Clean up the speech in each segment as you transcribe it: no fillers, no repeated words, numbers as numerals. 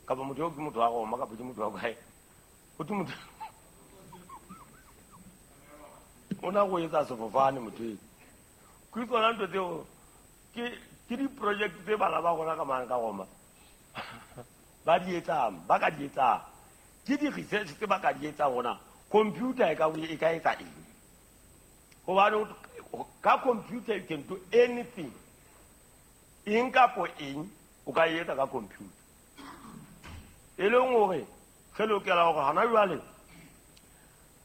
Kapa motho eo ke motho wa Roma kapa ke motho wa kae? Ho thwe motho o na go etsa sefofane motho eo. Ke tsona ntho tseo ke di-project tse bana ba rona ka mane ka Roma ba di etsang, ba ka di etsang. Ke di-research tse ba ka di etsang gona computer e ka etsa eng. Gobane ka computer you can do anything. Eng kapo eng o ka e etsa ka computer. E leng hore re lokela hore hona jwale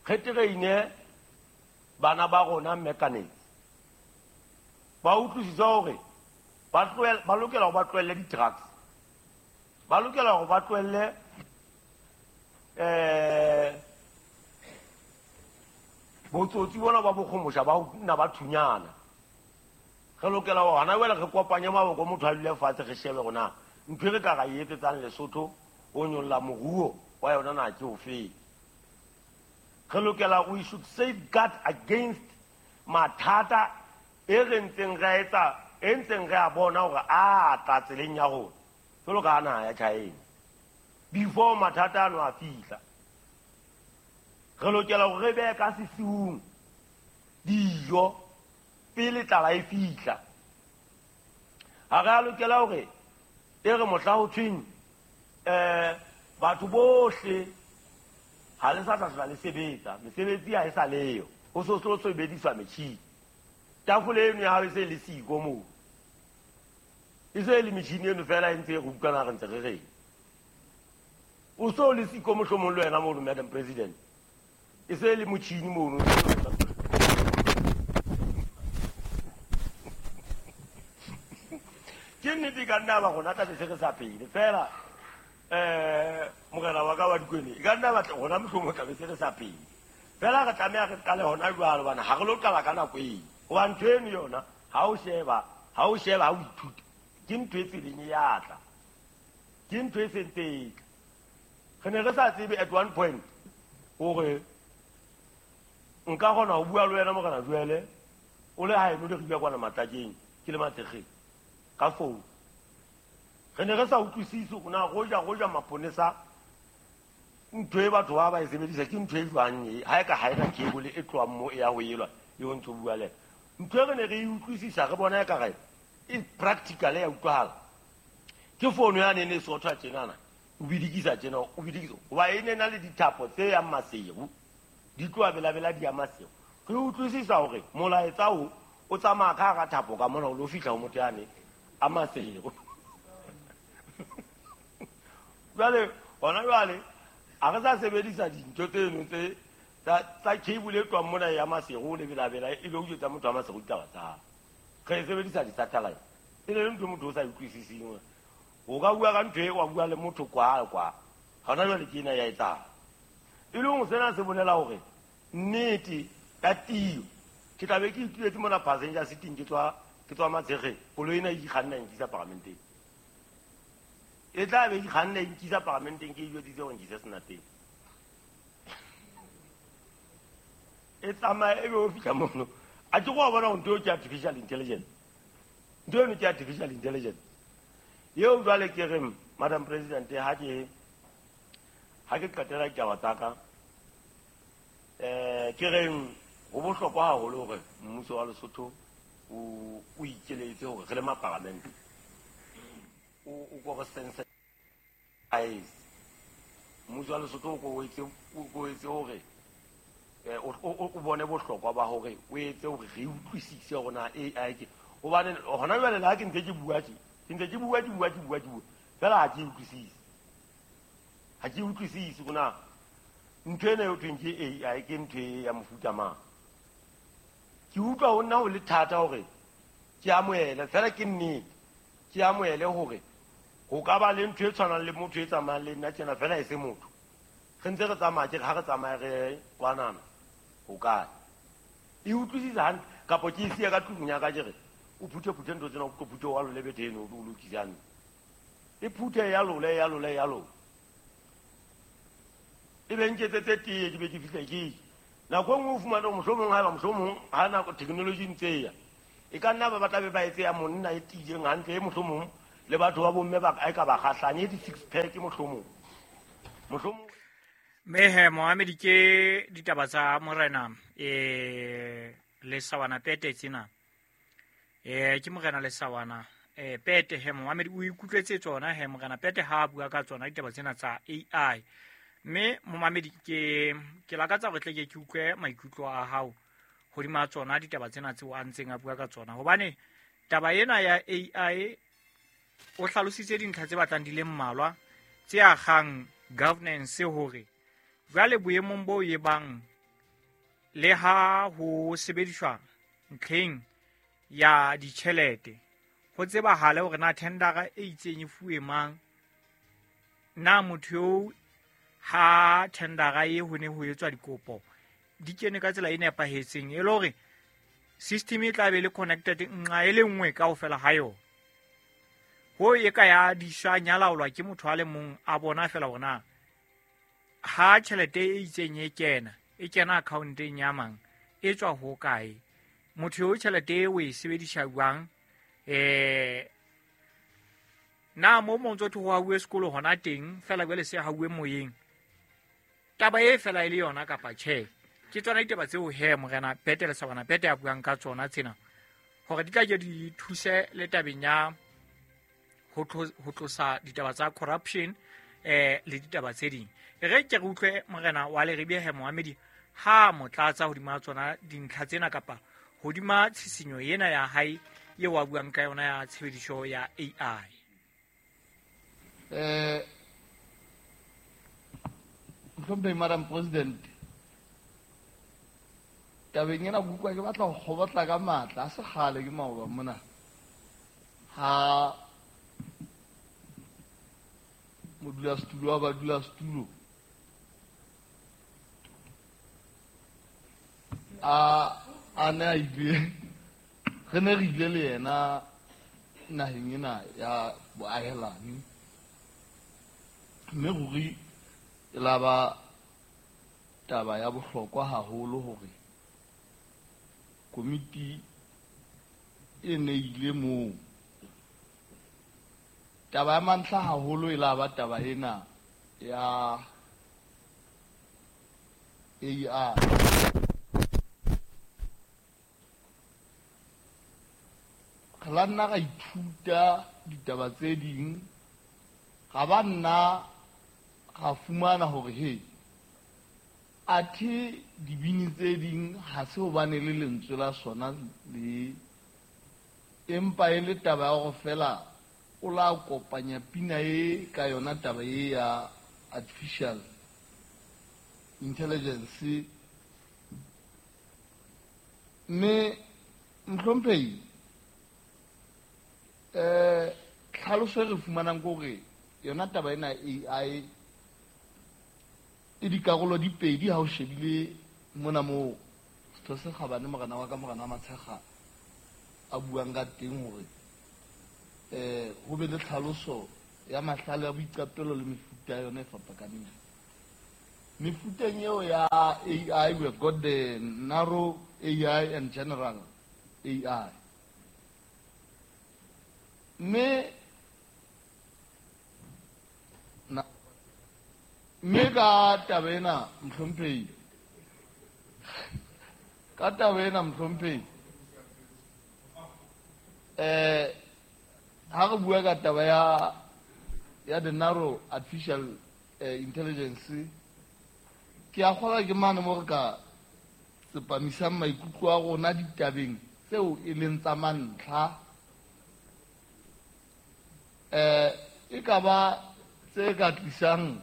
re traine bana ba rona mechanics. Ba utlwisise hore ba lokela hore ba tlohelle di-drugs. Ba lokela hore ba tlohelle botsotsi bona ba bokgomosha ba ho nna ba thunyana. Re lokela hore hona jwale re kopanye maboko, motho a dule fatshe re shebe hore na ntho e re ka ra e etsetsang Lesotho ho nyolla moruo wa yona na ke ofeng. Re lokela, we should safeguard against mathata e re ntseng re a etsa, e ntseng re a bona hore a tla tseleng ya rona jwalo ka naha ya China before mathata ano a fihla. Re lokela hore re behe ka sesiung dijo pele tlala e fihla. Ha re a lokela hore e re mohla ho thweng batho bohle ha le sa tla hlola le sebetsa, mesebetsi ha e sa leyo, ho so tlo sebediswa metjhini. Tafole eno ya hao e se le siko moo, e se le metjhini eno fela e ntse e re utlwana re ntse re reng. O so le siko mohlomong le wena mono, Madam President, e se le motjhini mono. Ke nnete ka nna ba rona tla be se re sa phele fela, morena wa ka wa Dikwene, e ka nna ba rona mohlomong tla be se re sa phele fela. Re tlameha re qale hona jwale, hobane ha re lo qala ka nako eo. Hoba ntho eno yona ha o sheba, ha o sheba, ha o ithuta, ke ntho e tseleng e ya tla, ke ntho e sentse e tla. Re ne re sa tsebe at one point hore nka kgona ho bua le wena morena Joele o le haeno le re bua kwana Matlakeng, ke le Matlekgeng ka phone. Re ne re sa utlwisise hore na goja maponesa ntho e batho ba ba e sebedisa ke ntho e jwang e, ha e ka ha ena cable e tlohang mo e ya ho elwa e o ntso bua le ntho e re ne re e utlwisisa, re bona e ka re e practical ya utlwahala. Ke phone ya ne ne sothwa tjenana, o bidikisa tjena, o bidikisa hoba e ne na le dithapo tse yang Maseru, di tloha belabela di ya Maseru. Re utlwisisa hore molaetsa o o tsamaya ka hara thapo ka mona o lo fihla ho motho yane a Maseru. Jwale hona jwale ha re sa sebedisa dintho tseno tse tsa cable e tlohang mona ya Maseru le belabela e lo jwetsa motho wa Maseru ditaba tsa hae. Re sebedisa di-satellite. E le ntho motho o sa utlwisising. O ka bua ka ntho e wa bua le motho kwa kwa. Hona jwale ke ena ya etsahala. E leng sena se bolela hore nnete ka tiyo ke tla be ke ituletse mona passenger seating, ke tswa Matshekgeng, koloi ena e ikganna e nkisa paramenteng. E tla be e ikganna e nkisa paramenteng, ke e jwetsitse hore nkise Senateng. E tsamaye e be o fihla mono. A ke go bona hore ntho eo ke artificial intelligence. Ntho eno ke artificial intelligence. Eo jwale ke re, Madam President, ha ke qetela ditaba tsa ka, ke reng ho bohlokwa haholo hore mmuso wa Lesotho o ikeletse hore re le mapalamente o ko re sensitize. Mmuso wa Lesotho o ko etse hore o bone bohlokwa ba hore o etse hore re utlwisise hore na AI ke hobane hona jwale le ha ke ntse ke bua tje, ke ntse ke bua, ke bua, ke bua, ke bua fela ha ke utlwisise. Ha ke utlwisise hore na ntho ena eo thweng ke AI ke ntho e ya mofuta mang. Ke utlwa ho nna ho le thata hore ke amohele, fela ke nnete, ke amohele hore ho ka ba le ntho e tshwanang le motho e tsamayang le nna tjena fela e se motho. Re ntse re tsamaya ke re ha re tsamaye re kwanana ho kae. E utlwisisa hantle kapa ke e siya ka tlung ya ka ke re o phuthe-phuthe ntho tsena, o tlo phuthe wa lole bethe eno, o lokise hantle. E phuthe ya lole, ya lole, ya lole. E be nketsetse teye, ke be ke fihle ke je. Nako e nngwe o fumane hore mohlomong haeba mohlomong ha nako technology ntse e ya, e ka nna ba tla be ba etse ya monna e tiileng hantle, e mohlomong Le batho ba bomme ba e ka ba kgahlanye di-six pack mohlomong. Mohlomong Mme he moamedi ke ditaba tsa morena Lesawana Pete tsena. Ke morena Lesawana Pete he moamedi o ikutlwetse tsona he morena Pete ha a bua ka tsona ditaba tsena tsa AI. Mme momamedi ke lakatsa hore tle ke utlwe maikutlo a hao hodima tsona ditaba tsena tseo a ntseng a bua ka tsona, hobane taba ena ya AI o hlalositse dintlha tse batlang di le mmalwa tse akgang governance hore jwale boemong bo e bang le ha ho sebediswa ntlheng ya ditjhelete ho tsebahale hore na tendera e itseng e fuwe mang, na motho eo ha tendera e ho ne ho etswa dikopo di kene ka tsela e nepahetseng, e le hore system e tla be le connected nqa e le nngwe kaofela ha yona. Ho e ka ya diswa nyalaolwa ke motho a le mong a bona fela hore na ha tjhelete e itseng e kena accounteng ya mang, e tswa ho kae, motho eo tjhelete e o e sebedisa jwang, na mo montso ho hauwe sekolo hona teng fela jwale se hauwe moyeng, taba e fela e le yona kapa tjhe. Ke tsona ditaba tseo he morena Pete Lesawana Pete a buang ka tsona tsena hore di tla ke di thuse le tabeng ya ho tlosa ditaba tsa corruption le ditaba tse ding. Re ke re utlwe morena wa Leribe he Mohamedi ha motlatsa hodima tsona dintlha tsena kapa hodima tshisinyo ena ya hae eo a buang ka yona ya tshebediso ya AI. Mohlomphehi Madam President, tabeng ena ke utlwa ke batla ho kgobotla ka matla, a se kgale ke maoba mona ha modulasetulo wa badulasetulo a ne a ile, re ne re ile le yena naheng ena ya boahelani, mme ruri e la ba taba ya bohlokwa haholo hore komiti e ne ile moo. Taba ya mantlha haholo e la ba taba ena ya AI. Re la nna ra ithuta ditaba tse ding, ga ba nna ra fumana hore he athe dibini tse ding ha se hobane le lentswe la sona le, empa e le taba ya hore fela o la kopanya pina e ka yona taba e ya artificial intelligence. Mme mohlomphehi, tlhaloso e re fumanang ke hore yona taba ena AI e dikarolo di pedi ha o shebile mona moo setho se kgabane morena wa ka morena wa Matshekga a buang ka teng hore ho be le tlhaloso ya mahlale a boiqapelo le mefuta ya yona e fapakaneng. Mefuteng eo ya AI, we have got the narrow AI and general AI. Mme ka taba ena mohlomphehi, ka taba ena mohlomphehi, ha re bua ka taba ya the narrow artificial intelligence, ke a kgolwa ke mane mo re ka tsepamisang maikutlo a rona ditabeng tseo e leng tsa mantlha, e ka ba tse ka tlisang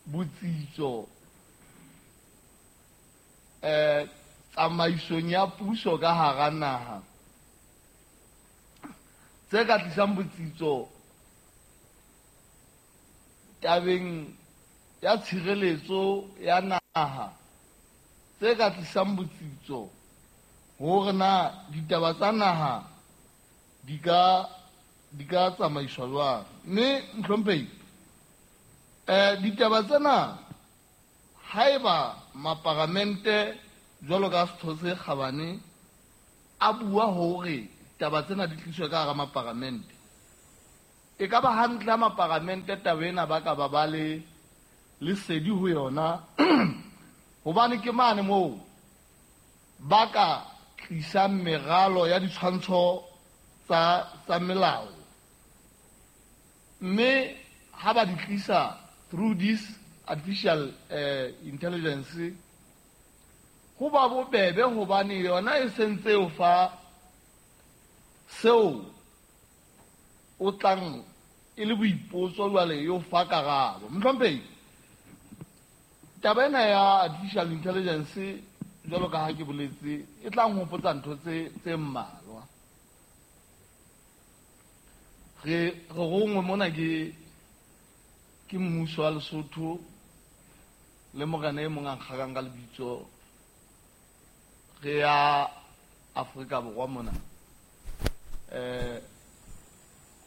botsitso tsamaisong ya puso ka hara naha, tse ka tlisang botsitso tabeng ya tshireletso ya naha, tse ka tlisang botsitso hore na ditaba tsa naha di ka tsamaiswa jwang. Mme mohlomphehi, ditaba tsena haeba maparamente jwalo ka setho se kgabane a bua hore taba tsena di tliswe ka hara maparamente, E ka ba hantle ha maparamente taba ena ba ka ba ba le lesedi ho yona, hobane ke mane moo ba ka tlisang meralo ya ditshwantsho tsa melao. Mme ha ba di tlisa through this artificial intelligence, ho ba bobebe hobane yona e sentse o fa seo o tlang e le boipotso jwale e o fa karabo. Mohlomphehi, taba ena ya artificial intelligence jwalo ka ha ke boletse e tla nhopotsa ntho tse mmalwa. Re rongwe mona ke mmuso wa Lesotho le morena e mong a nkgakang ka lebitso, re ya Afrika Borwa mona.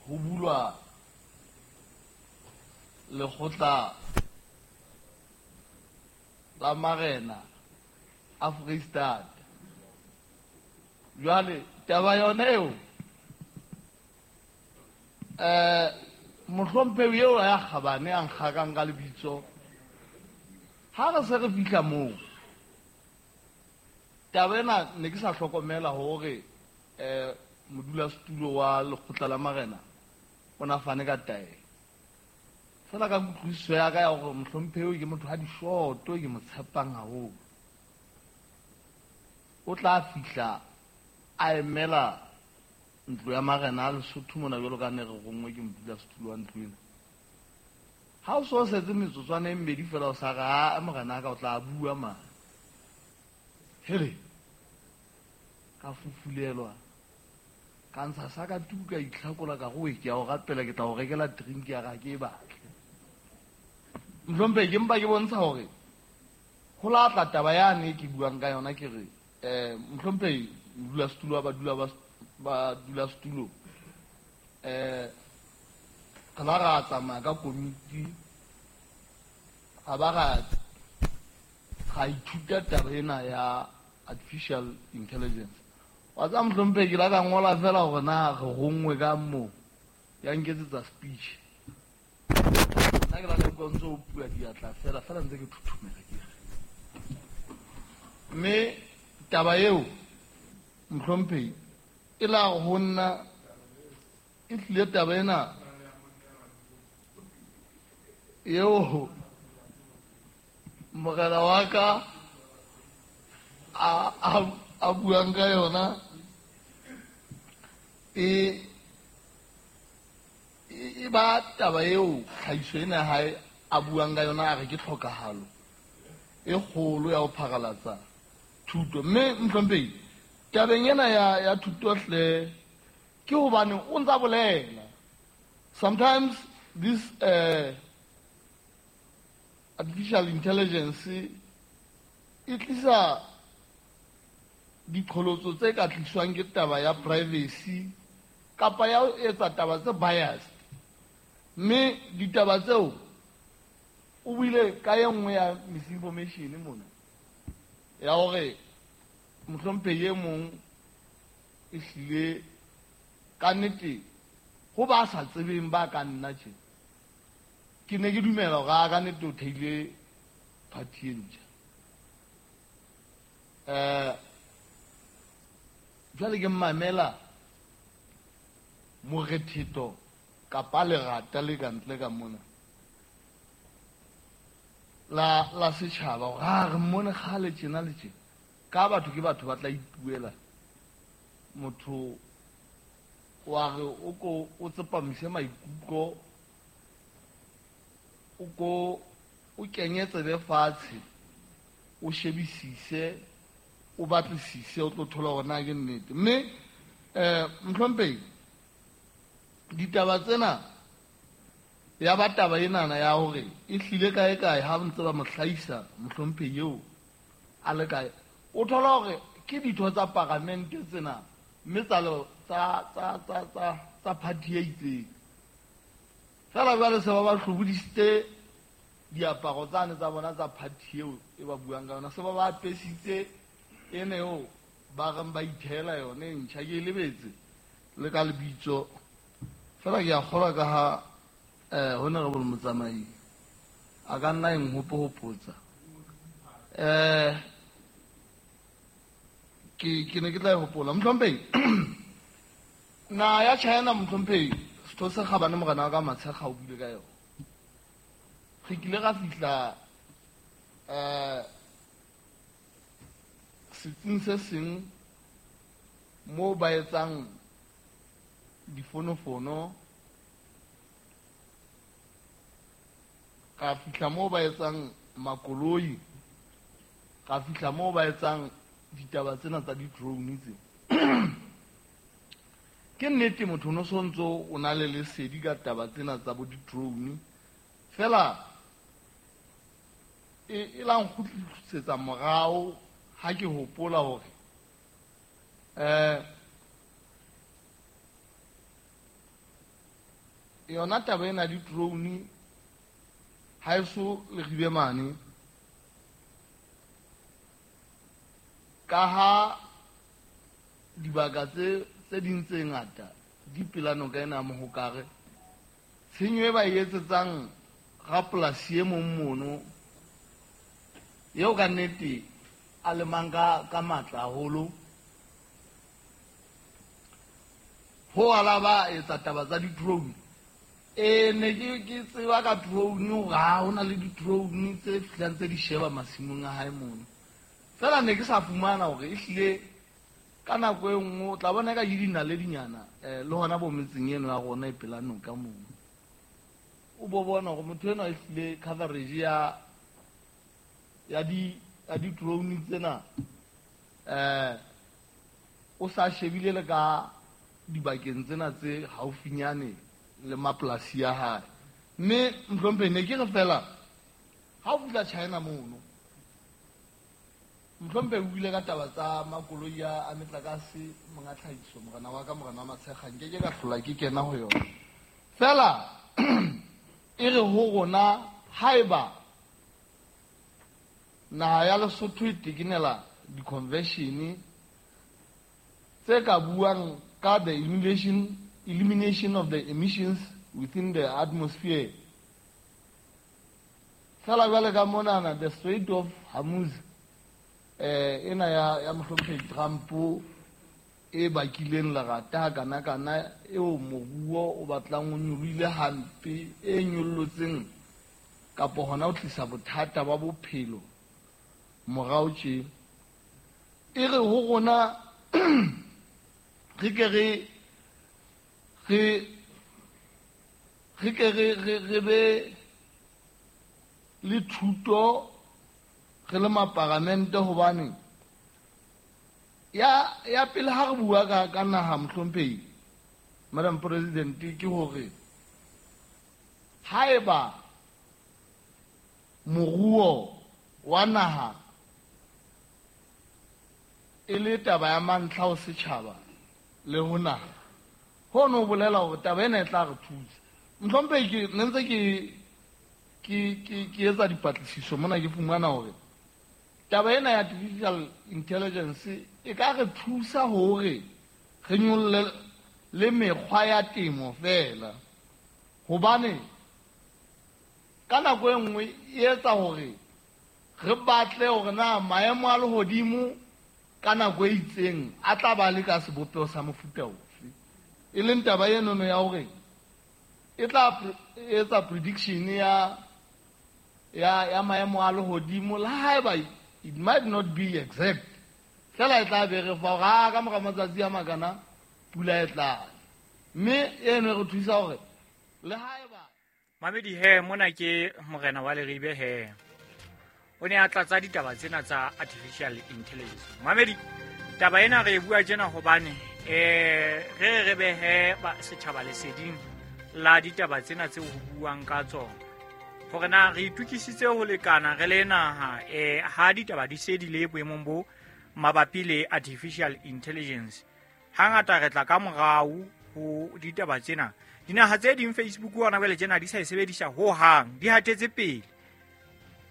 Ho bulwa lekgotla la marena a Freistata. Jwale taba yona eo, mohlomphehi eo ya kgabane a nkgakang ka lebitso, ha re se re fihla moo, taba ena ne ke sa hlokomela hore modulasetulo wa lekgotla la marena o na fane ka taelo. Fela ka kutlwisiso ya ka ya hore mohlomphehi ke motho ha dishoto, ke mo tshepang haholo, o tla fihla a emela ntlo ya marena a Lesotho mona jwalo ka ne re rongwe ke modulasetulo wa ntlo ena. Ha o so setse metsotswana e mmedi fela o sa re, a morena ka o tla bua mane. Hele, ka fufulelwa, ka ntsha sa ka tuku, ka itlhakola, ka re ke a o rapela, ke tla o rekela drink ya ka, ke e batle. Mohlomphehi, ke mpa ke bontsha hore ho la tla taba yane e ke buang ka yona, ke re mohlomphehi modulasetulo wa badulasetulo, re la ra tsamaya ka komiti, ga ba ra ithuta taba ena ya artificial intelligence. Wa tseba mohlomphehi, ke la ka ngola fela hore na re rongwe ka moo, ya nketsetsa speech. Nna ke la ka utlwa ntse o bua diatla fela fela ntse ke thuthumela ke re. Mme taba eo mohlomphehi e la ho nna e tlile taba ena eo morena wa ka a buang ka yona, e ba taba eo tlhahiso ena hae a buang ka yona, a re ke tlhokahalo e kgolo ya ho pharalatsa thuto. Mme mohlomphehi, tabeng ena ya thuto hle, ke hobane o ntsa bolela. Sometimes this artificial intelligence e tlisa diqholotso tse ka tliswang ke taba ya privacy kapa ya ho etsa taba tse biased. Mme ditaba tseo o buile ka e nngwe ya misinformation mona, ya hore mohlomphehi e mong e hlile ka nnete ho ba sa tsebeng ba ka nna tje, ke ne ke dumela hore a ka nnete o theile party e ntjha. Jwale ke mmamela morethetho kapa lerata le ka ntle ka mona la setjhaba hore a re mmone kgale tjena le tjena. Ka batho ke batho ba tla ipuela, motho wa re o ko o tsepamise maikutlo, o ko o kenye tsebe fatshe, o shebisise, o batlisise, o tlo thola hore na ke nnete. Mme mohlomphehi, ditaba tsena ya ba taba enana ya hore e hlile kae kae ha ntse ba mo hlahisa mohlomphehi eo a le kae, o thola hore ke ditho tsa paramente tsena mme tsa party e itseng. Fela jwale se ba ba hlobodisitse diaparo tsane tsa bona tsa party eo e ba buang ka yona, se ba ba apesitse ene eo ba reng ba ithela yone e ntjha, ke e lebetse le ka lebitso. Fela ke a kgolwa ka ha Honorable Motsamai a ka nna eng hopohopotsa. Ke ne ke tla e hopola. Mohlomphehi, naha ya China mohlomphehi, setho se kgabane morena wa ka Matshekga o buile ka yona. Re kile ra fihla setsing se seng moo ba etsang difonofono, ka fihla moo ba etsang makoloi, ka fihla moo ba etsang ditaba tsena tsa di-drone tse. Ke nnete motho no sontso o na le lesedi ka taba tsena tsa bo di-drone, fela e la nkgutlisetsa morao ha ke hopola hore yona taba ena di-drone ha eso le ribe mane, ka ha dibaka tse ding tse ngata di pela noka ena Mohokare, tshenyo e ba e etsetsang rapolasi e mong mono eo ka nnete a lemang ka matla haholo, ho ala ba etsa taba tsa di-drone. Ne ke tseba ka drone hore ha hona le di-drone tse fihlang tse di sheba masimong a hae mono. Fela ne ke sa fumana hore ehlile ka nako e nngwe o tla bona ka ke dinaledinyana le hona bo metseng eno ya rona e pela noka mono. O bo bona hore motho enwa ehlile coverage ya di-drone tsena o sa shebile le ka dibakeng tsena tse haufinyane le mapolasi ya hae. Mme mohlomphehi ne ke re fela ha o fihla China mono, mohlomphehi o buile ka taba tsa makoloi a metlakase, monga tlhahiso, morena wa ka, morena wa Matshekga, nke ke ka hlola ke kena ho yona. Fela e re ho rona haeba naha ya Lesotho e tekenela di-convention tse ka buang ka the elimination of the emissions within the atmosphere, fela jwale ka monana the Strait of Hormuz ena ya mohlomphehi Trump e bakileng lerata kana kana eo moruo o batlang o nyolohile hampe, e nyollotseng kapo hona ho tlisa bothata ba bophelo morao tje. E re ho rona re ke re be le thuto re le maparamente, hobane ya pele ha re bua ka naha mohlomphehi Madam President, ke hore haeba moruo wa naha e le taba ya mantlha ho setjhaba le ho naha, hono ho bolela hore taba ena e tla re thusa. Mohlomphehi, ke ne ntse ke etsa dipatlisiso mona, ke fumana hore taba ena ya artificial intelligence e ka re thusa hore re nyolle le mekgwa ya temo fela, hobane ka nako e nngwe e etsa hore re batle hore na maemo a lehodimo ka nako e itseng a tla ba le ka sebopeho sa mofuta ofe, e leng taba enono ya hore e tla etsa prediction ya maemo a lehodimo, le haeba it might not be exact, fela e tla be re fa hore ka mora matsatsi a makana pula e tla, mme eno e re thusa hore le haeba Mamedi he mona ke morena wa Leribe he o ne a tlatsa ditaba tsena tsa artificial intelligence. Mamedi, taba ena re e bua tjena hobane re behe setjhaba leseding la ditaba tsena tseo ho buang ka tsona, hore na re itukisitse ho lekana re le naha ha ditaba di se di le boemong bo mabapi le artificial intelligence. Hangata re tla ka morao ho ditaba tsena. Dinaha tse ding Facebook hona jwale tjena di sa e sebedisa ho hang, di hatetse pele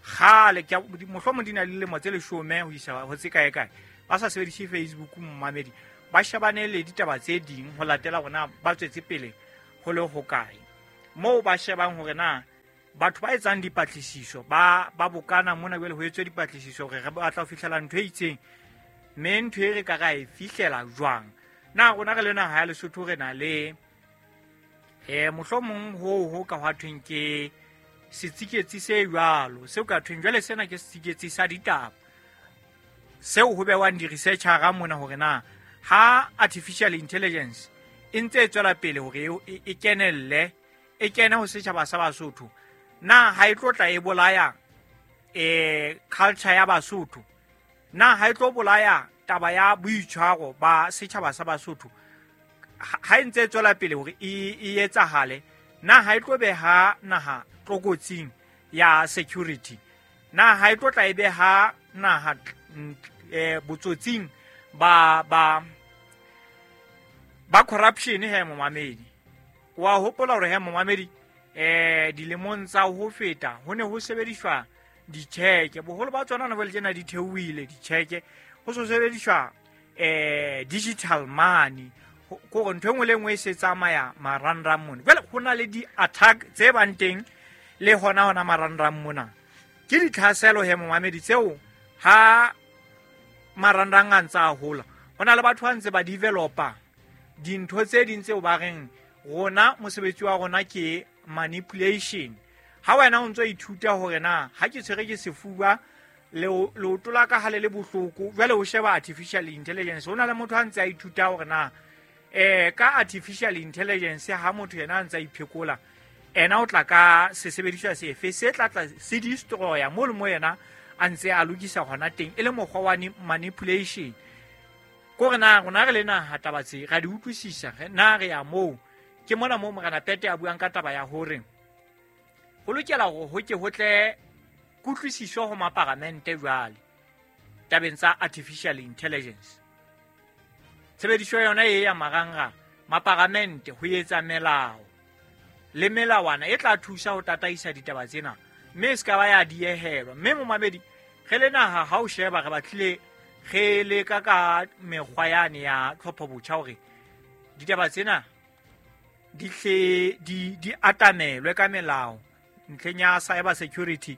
kgale, mohlomong di na le dilemo tse 10 ho isa ho tse kae kae ba sa sebedise Facebook. Mmamedi ba shebane le ditaba tse ding ho latela bona ba tswetse pele ho le hokae. Moo ba shebang hore na batho ba etsang dipatlisiso ba bokana mona jwale ho etswe dipatlisiso hore re batla ho fihlela ntho e itseng, mme ntho e re ka ra e fihlela jwang. Na rona re le naha ya Lesotho re na le mohlomong ho ka hwa thweng ke setsiketsi se jwalo seo ka thweng jwale sena ke setsiketsi sa ditaba seo ho bewang di-researchera mona hore na ha artificial intelligence e ntse e tswela pele hore e kenelle e kene ho setjhaba sa Basotho, na ha e tlo tla e bolaya culture ya Basotho, na ha e tlo bolaya taba ya boitshwaro ba setjhaba sa Basotho ha e ntse e tswela pele hore e etsahale, na ha e tlo beha naha tlokotsing ya security, na ha e tlo tla e beha naha botsotsing ba corruption he momamedi. Wa hopola hore he momamedi dilemong tsa ho feta ho ne ho sebediswa ditjheke, boholo ba tsona na jwale tjena di theohile ditjheke, ho so sebediswa digital money, kore ntho e nngwe le nngwe e se tsamaya marangrang mona. Jwale ho na le di-attack tse bang teng le hona marangrang mona, ke ditlhaselo he momamedi tseo ha marangrang a ntse a hola, ho na le batho ba ntse ba developa dintho tse ding tseo ba reng rona mosebetsi wa rona ke manipulation. Ha wena o ntso ithuta hore na ha ke tshwere ke sefuba leoto la ka ha le le bohloko, jwale o sheba artificial intelligence, ho na le motho a ntse a ithuta hore na ka artificial intelligence ha motho yena a ntse a iphekola, ena o tla ka sesebediswa sefe se tla tla se destroya mo le mo yena a ntse a lokisa hona teng, e le mokgwa wa manipulation. Kore na rona re le naha taba tse ra di utlwisisa, na re ya moo. Ke mona moo Morena Pete a buang ka taba ya hore ho lokela hore ho ke ho tle kutlwisiso ho maparamente jwale tabeng tsa artificial intelligence. Tshebediso yona e ya marangrang, maparamente ho etsa melao le melawana e tla thusa ho tataisa ditaba tsena, mme e se ka ba ya diehelwa. Mme momamedi, re le naha ha o sheba re batlile re leka ka mekgwa yane ya tlhopho botjha hore ditaba tsena di hle di atamelwe ka melao ntlheng ya cyber security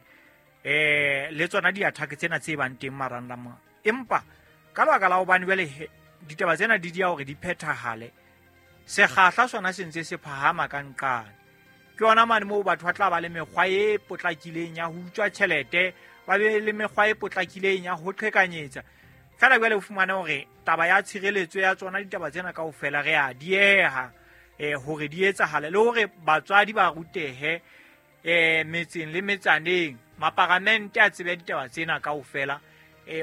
le tsona di-attack tsena tse bang teng marangrang. Empa ka lebaka la hobane jwale ditaba tsena di dia hore di phethahale, sekgahla sona se ntse se phahama ka nqane. Ke yona mane moo batho ba tla ba le mekgwa e potlakileng ya ho utswa tjhelete, ba be le mekgwa e potlakileng ya ho qhekanyetsa. Fela jwale o fumane hore taba ya tshireletso ya tsona ditaba tsena kaofela re a dieha hore di etsahale, le hore batswadi ba rutehe metseng le metsaneng, maparamente a tsebe ditaba tsena kaofela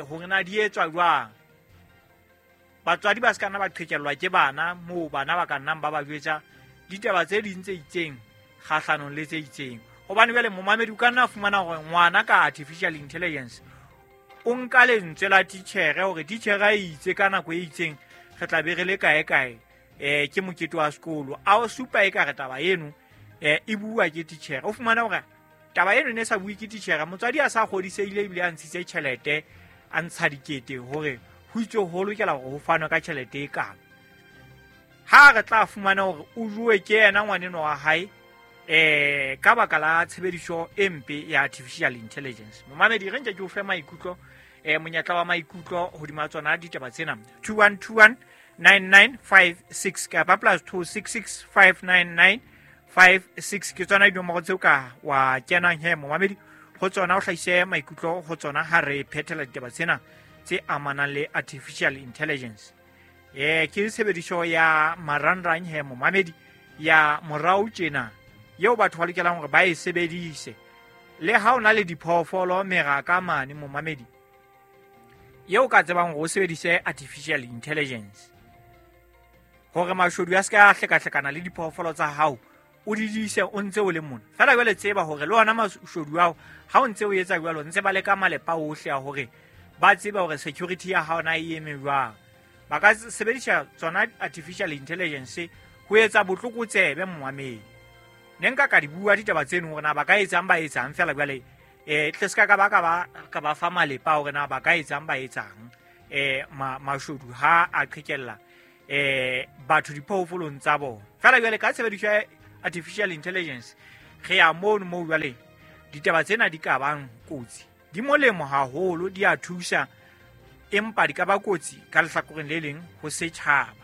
hore na di etswa jwang. Batswadi ba se ka nna ba qhekellwa ke bana moo bana ba ka nnang ba ba jwetsa ditaba tse ding tse itseng kgahlanong le tse itseng. Hobane jwale momamedi o ka nna fumana hore ngwana ka artificial intelligence o nka lentswe la titjhere hore titjhere a itse ka nako e itseng re tla be re le kae kae, ke mokete wa sekolo, a o supa e ka re taba eno e bua ke titjhere. O fumana hore taba eno ne sa bue ke titjhere, motswadi a sa kgodisehile ebile a ntshitse tjhelete, a ntsha dikete hore ho itse ho lokela hore ho fanwe ka tjhelete e kalo. Ha re tla fumana hore o jowe ke yena ngwaneno wa hae ka baka la tshebediso e mpe ya artificial intelligence. Momamedi, re nke ke o fe maikutlo, monyetla wa maikutlo hodima tsona ditaba tsena. 2121 9956 kapa +266 599 56 ke tsona dinomoro tseo ka wa kenang he momamedi ho tsona, o hlahise maikutlo ho tsona ha re phethela ditaba tsena tse amanang le artificial intelligence. Ke tshebediso ya marangrang he momamedi ya morao tjena eo batho ba lokelang hore ba e sebedise. Le ha o na le diphoofolo meraka mane momamedi eo ka tsebang hore o sebedise artificial intelligence hore mashodu a se ka hlekahlekana le diphoofolo tsa hao, o di dise o ntse o le mona. Fela jwale tseba hore le ona mashodu ao ha o ntse o etsa jwalo, ntse ba leka malepa ohle a hore ba tsebe hore security ya hao na e eme jwang. Ba ka sebedisa tsona artificial intelligence ho etsa botlokotsebe momamedi. Ne nka ka di bua ditaba tseno hore na ba ka etsang ba etsang, fela jwale tle se ka ba fa malepa hore na ba ka etsang ba etsang mashodu ha a qhekella batho diphoofolong tsa bona. Fela jwale ka tshebediso ya artificial intelligence re ya mono moo jwale ditaba tsena di ka bang kotsi. Di molemo haholo, di a thusa, empa di ka ba kotsi ka lehlakoreng le leng ho setjhaba.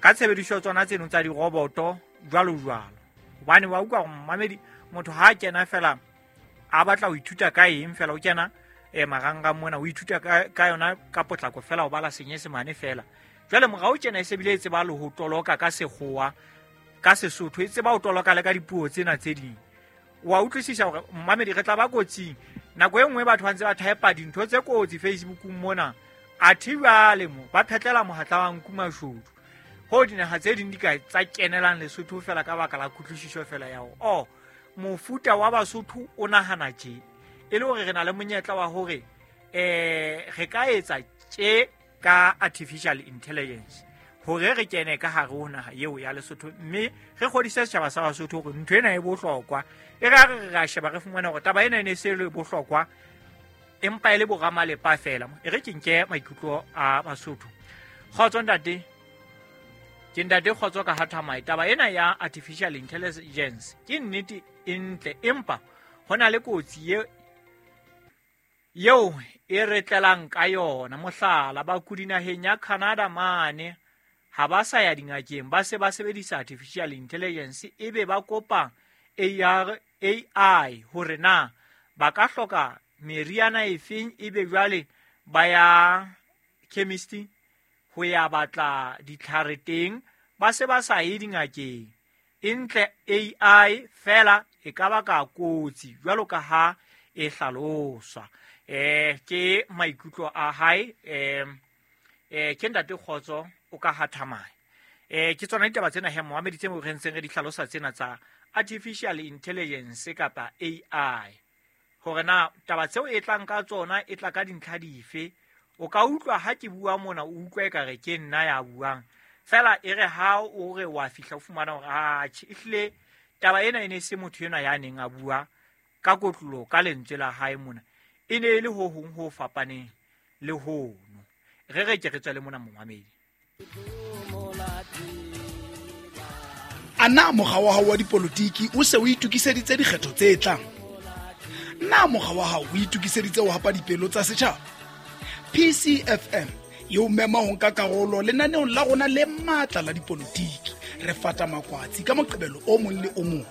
Ka tshebediso tsona tseno tsa diroboto jwalo jwalo. Hobane wa utlwa hore momamedi motho ha a kena fela a batla ho ithuta ka eng fela, o kena marangrang mona o ithuta ka yona ka potlako fela, o bala senyesemane fela. Jwale morao tjena e se bile e tseba le ho toloka ka sekgowa, ka Sesotho, e tseba ho toloka le ka dipuo tsena tse ding. Wa utlwisisa hore momamedi re tla ba kotsing. Nako e nngwe batho ba ntse ba type dintho tse kotsi Facebookong mona, athe jwale mo ba phetlela mohatla wa nku mashodu. Ho dinaha tse ding di ka tsa kenelang Lesotho fela ka baka la kutlwisiso fela ya hore mofuta wa Basotho o nahana tje, e le hore re na le monyetla wa hore re ka etsa tje ka artificial intelligence hore re kene ka hare ho naha eo ya Lesotho, mme re kgodise setjhaba sa Basotho hore ntho ena e bohlokwa. E re ha re ra sheba re fumana hore taba ena e ne se le bohlokwa, empa e le boramalepa fela. E re ke nke maikutlo a Basotho. Kgotso ntate. Ke ntate Kgotso ka Hathamae. Taba ena ya artificial intelligence ke nnete e ntle, empa ho na le kotsi eo e re tlelang ka yona. Mohlala, bakudi naheng ya Canada mane ha ba sa ya dingakeng, ba se ba sebedisa artificial intelligence, ebe ba kopa AI hore na ba ka hloka meriana efeng, ebe jwale ba ya chemist ho ya batla ditlhare teng, ba se ba sa ye dingakeng. E ntle AI fela e ka baka kotsi jwalo ka ha e hlaloswa. Ke maikutlo a hae. Ke ntate Kgotso o ka Hathamae. Ke tsona ditaba tsena he momamedi tse re ntseng re di hlalosa tsena tsa artificial intelligence kapa AI, hore na taba tseo e tlang ka tsona e tla ka dintlha dife. O ka utlwa ha ke bua mona, o utlwa ekare ke nna ya buang fela, e re ha o re wa fihla o fumana hore atjhe, ehlile taba ena e ne se motho enwa ya neng a bua ka kotlolo ka lentswe la hae mona, e ne e le ho hong ho fapaneng le hono. Re re ke re tswele mona momamedi. A na mokga wa hao wa dipolotiki o se o itokiseditse dikgetho tse tlang? Na mokga wa hao o itokiseditse ho hapa dipelo tsa setjhaba? PCFM e o mema ho nka karolo lenaneong la rona le matla la dipolotiki. Re fata makwatsi ka Moqebelo o mong le o mong.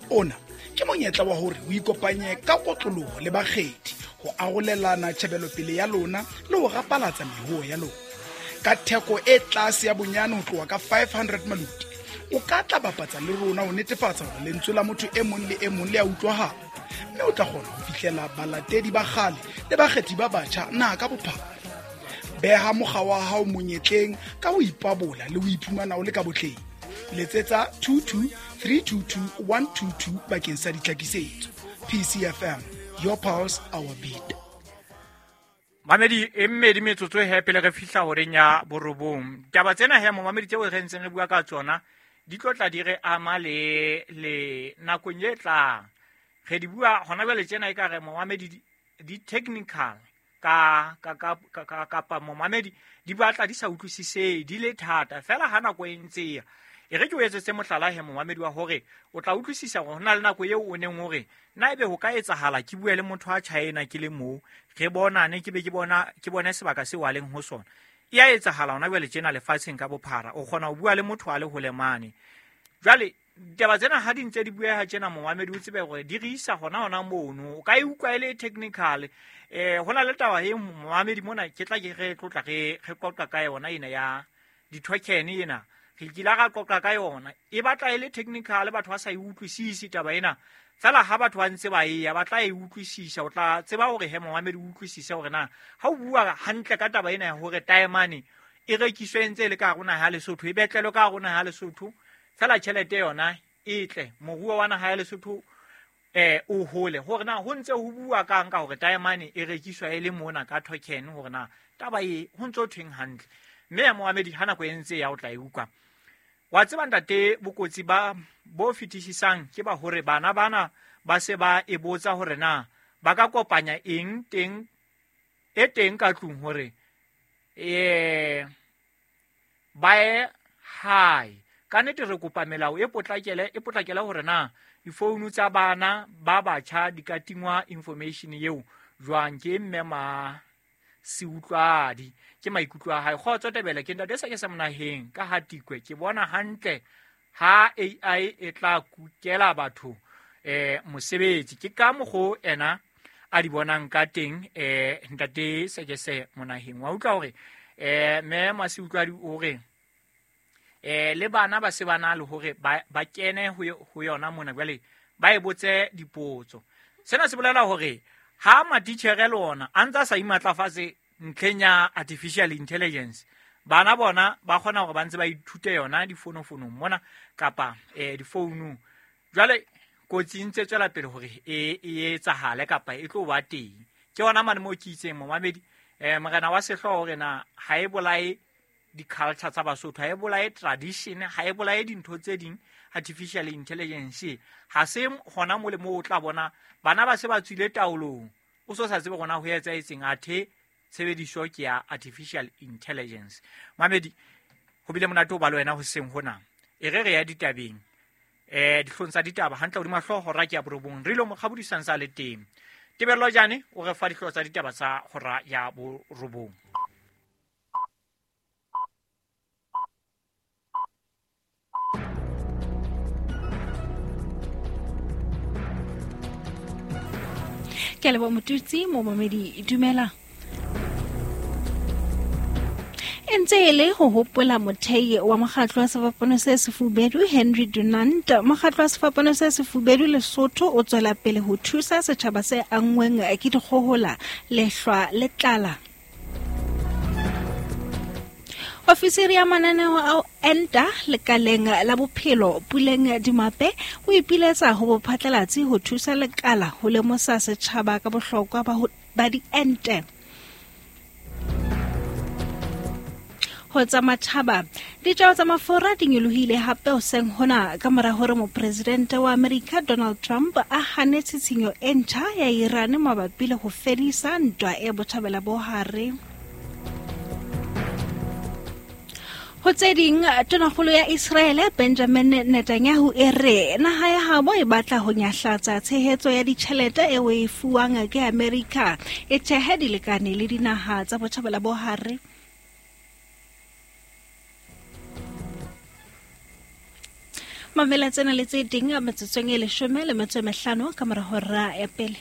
Ona ke monyetla wa hore o ikopanye ka kotloloho le bakgethi ho arolelana tjhebelopele ya lona le ho rapalatsa mehoo ya lona. Ka theko e tlase ya bonyane ho tloha ka 500 maluti, o ka tla bapatsa le rona ho netefatsa hore lentswe la motho e mong le e mong le a utlwahala, mme o tla kgona ho fihlela balatedi ba kgale le bakgethi ba batjha naha ka bophara. Beha mokga wa hao monyetleng ka ho ipabola le ho iphumana o le ka botleng. Letsetsa 22 322 122 bakeng sa ditlhakisetso. PCFM, your pulse, our beat. Mamedi e mmedi metsotso he pele re fihla horeng ya borobong. Taba tsena he momamedi tseo re ntseng re bua ka tsona di tlo tla di re ama le nakong e tlang. Re di bua hona jwale tjena ekare momamedi di technical ka ka ka kapa momamedi di batla di sa utlwisise di le thata fela ha nako e ntse ya. E re ke o etsetse mohlala he momamedi wa hore o tla utlwisisa hore hona le nako eo o neng hore na ebe ho ka etsahala ke bue le motho wa China ke le moo re bonane, ke be ke bona ke bone sebaka seo a leng ho sona. E a etsahala hona jwale tjena lefatsheng ka bophara, o kgona ho bua le motho a le hole mane. Jwale ditaba tsena ha di ntse di bueha tjena momamedi o tsebe hore di re isa hona hona mono. O ka e utlwa e le technical. Hona le taba e momamedi mona ke tla ke re tlotla re qoqa ka yona ena ya di-token ena. Re kile ra qoqa ka yona, e batla e le technical, batho ba sa e utlwisise taba ena. Fela ha batho ba ntse ba eya ba tla e utlwisisa, o tla tseba hore he momamedi o utlwisise hore na ha o bua hantle ka taba ena ya hore taemane e rekiswe ntse e le ka hare ho naha ya Lesotho, e betlelwe ka hare ho naha ya Lesotho, fela tjhelete yona e tle moruo wa naha ya Lesotho o hole. Hore na ho ntse ho bua kang ka hore taemane e rekiswa e le mona ka token, hore na taba e ho ntse ho thweng hantle. Mme ya momamedi ha nako e ntse ya o tla e utlwa. Wa tseba ntate, bokotsi ba bo fetisisang ke ba hore bana bana ba se ba e botsa hore na ba ka kopanya eng teng e teng ka tlung hore ba ye hae. Ka nnete re kopa melao e potlakele hore na difounu tsa bana ba batjha di ka tingwa information eo jwang. Ke mme ma seutlwadi ke maikutlo a hae. Kgotso Tebele, ke ntate sa ke sa monaheng ka ha Tikwe. Ke bona hantle ha AI e tla kukela batho mosebetsi. Ke ka mokgo ena a di bonang ka teng ntate Sekese monaheng. Wa utlwa hore mme Maseutlwadi o re le bana ba se bana le hore ba kene ho yona mona jwale ba e botse dipotso. Sena se bolela hore ha matitjhere le ona a ntsa sa imatlafatse ntlheng ya artificial intelligence, bana bona ba kgona hore ba ntse ba ithute yona difonofonong mona kapa difounung. Jwale kotsi e ntse tswela pele hore e etsahale kapa e tlo ba teng. Ke yona mane moo ke itseng momamedi morena wa sehlooho hore na ha e bolae di-culture tsa Basotho, ha e bolae tradition, ha e bolae dintho tse ding. Artificial intelligence ha se hona mo le mo o tla bona bana ba se ba tswile taolong, o so sa tsebe gona ho etsahetseng, athe tshebediso ke ya artificial intelligence. Mamedi, ho bile monate ho ba le wena hoseng hona. E re re ya ditabeng, dihlong tsa ditaba hantle hodima hlooho hora ke ya 9. Re ilo mokgabodisang sa le teng. Tebello Jane o re fa dihlooho tsa ditaba tsa hora ya 9. Ke a leboha Motutsi, momamedi dumela. E ntse e le ho hopola mothei wa mokgatlo wa sefapano se sefubedu Henry Dunant. Mokgatlo wa sefapano se sefubedu Lesotho o tswela pele ho thusa setjhaba se anngweng ke dikgohola, lehlwa le tlala. Ofisiri ya mananeo a enta lekaleng la bophelo Puleng Dimape o ipiletsa ho bophatlalatsi ho thusa lekala ho lemosa setjhaba ka bohlokwa ba diente. Ho tsa matjhaba, ditjeo tsa mafura di nyolohile hape hoseng hona ka mora hore mopresidente wa Amerika Donald Trump a hane tshitshinyo e ntjha ya Iran mabapi le ho fedisa ntwa e botjhabela bo hare. Ho tse ding, tonakgolo ya Israele Benjamin Netanyahu e re naha ya habo e batla ho nyahlatsa tshehetso ya ditjhelete eo e fuwang ke Amerika, e thehe dilekane le dinaha tsa botjhabela bo hare. Mamela tsena le tse ding metsotsong e 15 ka mora hora ya pele.